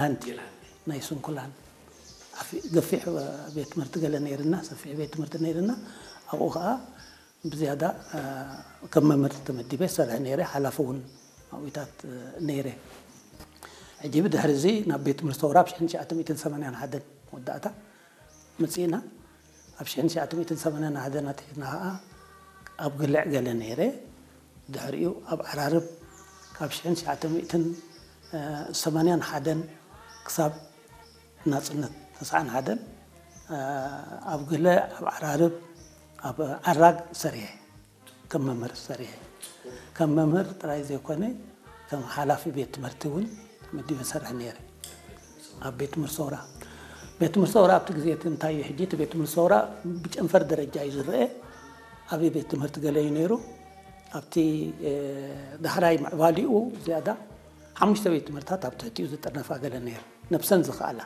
ሃንቲ ናይ ስንኩላን ዓፊ- ገፊሕ ቤት ትምህርቲ ገለ ነይርና፣ ሰፊሕ ቤት ትምህርቲ ነይርና። ኣብኡ ከዓ ብዝያዳ ከም መምህር ተመዲበ ይሰርሕ ነይረ። ሓላፊ እውን ኣብታት ነይረ። ሕጂ ብድሕሪ እዚ ናብ ቤት ትምህርቲ ሰውራ ኣብ ሽሕን ትሽዓተ ሚእትን ሰማንያን ሓደን መወዳእታ መፂእና። ኣብ ሽሕን ትሽዓተ ሚእትን ሰማንያን ሓደን ኣትሒዝና ከዓ ኣብ ግልዕ ገለ ነይረ። ድሕሪኡ ኣብ ዓራርብ ካብ ሽሕን ትሽዓተ ሚእትን ሰማንያን ሓደን ክሳብ ናፅነት ተስዓን ሓደን ኣብ ግለ ኣብ ዓራርብ ኣብ ዓራግ ሰሪሐ፣ ከም መምህር ሰሪሐ። ከም መምህር ጥራይ ዘይኮነ ከም ሓላፊ ቤት ትምህርቲ እውን ተመዲበ ሰርሕ ነይረ። ኣብ ቤት ትምህርቲ ሰውራ ቤት ትምህርቲ ሰውራ ኣብቲ ግዜ እቲ እንታይ እዩ ሕጂ እቲ ቤት ትምህርቲ ሰውራ ብጨንፈር ደረጃ እዩ ዝረአ። ዓብዪ ቤት ትምህርቲ ገለ እዩ ነይሩ። ኣብቲ ዳሕራይ ምዕባሊኡ ዝያዳ ሓሙሽተ ቤት ትምህርታት ኣብ ትሕቲኡ ዝጥርነፋ ገለ ነይሩ፣ ነብሰን ዝኽኣላ።